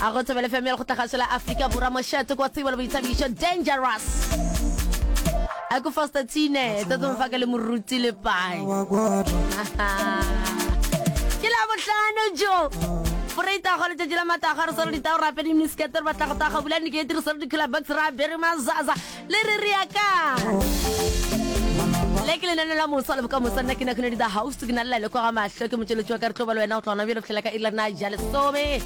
A go Thobela FM ya Lekgotlakgašo la Afrika Borwa mošate kwa tsebo le boithabišo Dangerous. A ko Foster Tine, Tate Mfaka le Moruti Lepai. Ke la bohlano jo. Foreita go letšatši la matago re swere ditao re apere miniskete re batla go taga bula dikete re swere di-cooler box re apere mazaza Le re re ya kae? Le ke lenaneo la mosa le bokamoso. Nna ke Nakhunedi the host, ke na le Laele kwa ga mahlo, ke motšweletši wa ka. Re tlo ba le wena go tloga gona bjale go fihlela ka iri la rena ja lesome.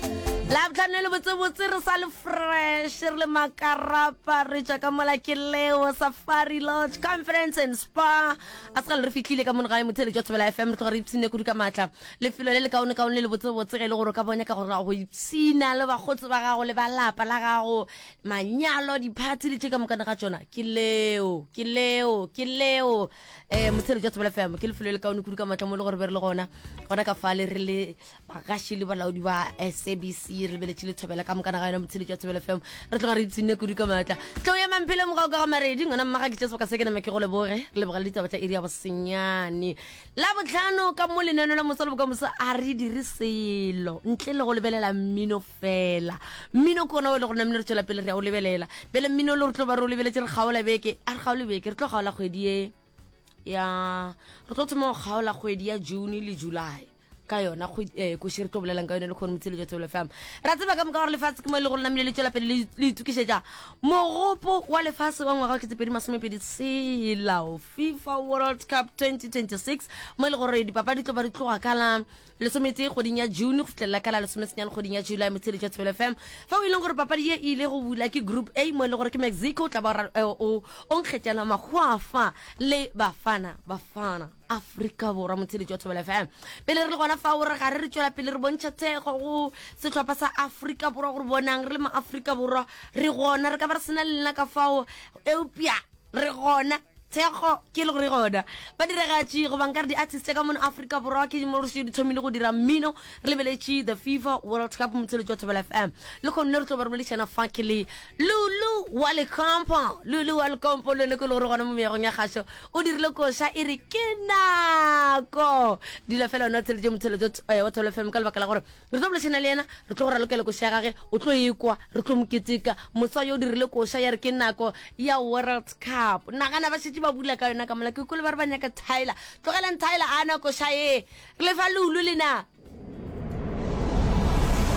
Labohlano le botsebotse re sa le fresh, re le makarapa, re tšwa ka mola ke leo Safari Lodge Conference and Spa. A se gale re fihlile ka mono gae motheeletši wa Thobela FM, re tloga re ipshinne kudu ka maatla. Lefelo le lekaonekaone le lebotsebotse ge e le gore o ka bo nyaka gore go ipshina le bakgotsi ba gago le ba lapa la gago. Manyalo, diphathi le tše ka mokana ga tšona, ke leo, ke leo, ke leo. Um Motheeletši wa Thobela FM, ke lefelo le kaone kudu ka matla mo e le gore be re le gona, gona ka fale re le bagaši le balaodi ba SABC, re lebeletše le Thobela ka mokana ga yona. Motheeletši wa Thobela FM, re tloga re ipshinne kudu ka matla. Tlou ya Mamphele Mogau ka ga Maredi, ngwana mmaga ke tše sebaka se ke nama ke go leboge, re lebogele ditaba tša iri ya bosenyane. Labohlano ka mo lenaneo la Moso le Bokamoso a re dire selo ntle le go lebelela mmino fela. Mmino ke ona o e le gore namile re tšwela pele re ya o lebelela. Bjale mmino le re tlo ba re o lebeletše re kgaola beke, a re kgaole beke, re tlo kgaola kgwedi ye ya re tlo thoma go kgaola kgwedi ya June le July ka yona eh, koši re tlo bolelang ka yone le kgone motshelo jwa Thobela FM. Ra tseba ka moka gore lefatshe ke mo e le gore namile le tšwela pele le le itokišetša mogopo wa lefase wa ngwaga wa 2026 tshela FIFA World Cup 2026 mo e le gore dipapadi tlo ba di tloga ka la lesometee kgweding ya June go fihlelela ka la lesomesenyane kgweding ya July motheeletši wa Thobela FM. Fao e leng gore papadi ye e ile go bula ke Group A mo e le gore ke Mexico o tla ba eh, o o nkgetšana mahwafa le Bafana Bafana Afrika Borwa motheeletši wa Thobela FM. Pele re le gona fao re gare re tšwela pele re bontšha thekgo go sehlopha sa Afrika Borwa gore bonang re le ma-Afrika Borwa re gona re ka ba re sena le lena ka fao eupša re gona thekgo ke le gore gona badiragatši goba nkare di-artist tša ka mono Afrika Borwa ke mo re di thomile go dira mmino re lebeletše the FIFA World Cup motheletši wa Thobela FM le kgonne re tlo ba re boledišana fa ke le Lulu wa Lekompo Lulu wa Lekompo le yone ke le gore gona mo meagong ya kgašo o dirile koša e re ke nako dula fela wena o theletše motheletši wa Thobela FM ka lebaka la gore Re tlo boledišana le yena, re tlo go ralokela koša ya gage, o tlo e kwa, re tlo mo keteka. Moswa yo o dirile koša ya re ke nako ya World Cup. Nagana ba šetše ba bula ka yona ka mola. Ke kwele ba re ba nyaka Tyler. Tlogelang Tyler a na koša ye. Re le fa Lulu le na.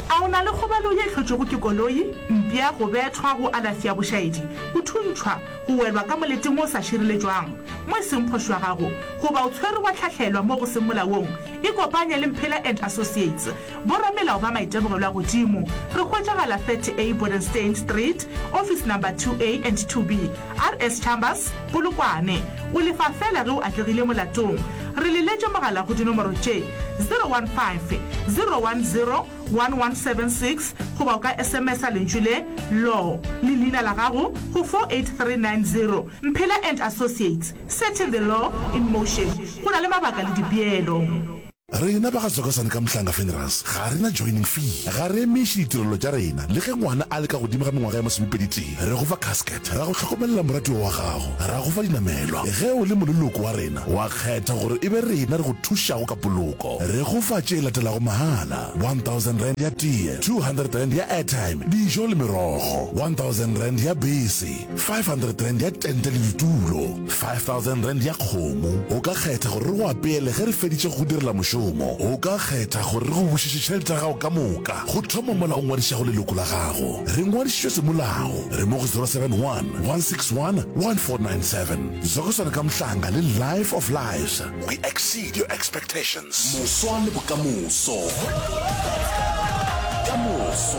A o na le kgobalo ye e hlotšwego ke koloi, mpša, go bethwa, go alafi ya bošaedi, go thuntšhwa, go welwa ka moleteng o sa šireletšwang, mo e seng phošo ya gago, goba o tshwerwe wa hlahlelwa mo go seng molaong? Ikopanye le Mphela and Associates, boramelao ba maitemogelo a godimo. Re hwetšagala 30A Bodenstein Street, Office Number 2A and 2B, RS Chambers, Polokwane. O lefa feela ge o atlegile molatong. Re leletše mogala go dinomoro tše, 015 010 1176 goba o ka SMS-a lentšu le, Law, le leina la gago go 48390. Mphela and Associates, setting the law in motion. Go na le mabaka le dipeelo. Rena ba ga Tsokosane ka Mhlanga Funerals ga re na joining fee, ga re emiše ditirelo tša rena le ge ngwana a le ka godimo ga mengwaga ya masomepeditee. Re go fa casket, ra go hlokomelela moratiwa wa gago, ra go fa dinamelwa. Ge o le moleloko wa rena, wa kgetha gore e be rena re go thušago ka poloko. Re go fa tše latelago mahala, R1000 ya tee, R200 ya airtime, dijo le merogo, R1000 ya bese, R500 ya tente le ditulo, R5000 ya kgomo. O ka kgetha gore re go apeele ge re feditše go go direla mošomo. O ka kgetha gore re go bušetše tšhelete ya gago ka moka go thoma mola o ngwadišago leloko la gago. Re ngwadišitšwe semolao. Re mo go 071 161 1497. Zokosana ka Mhlanga le Life of Lives. We exceed your expectations. Moswa le bokamoso. Ka moso.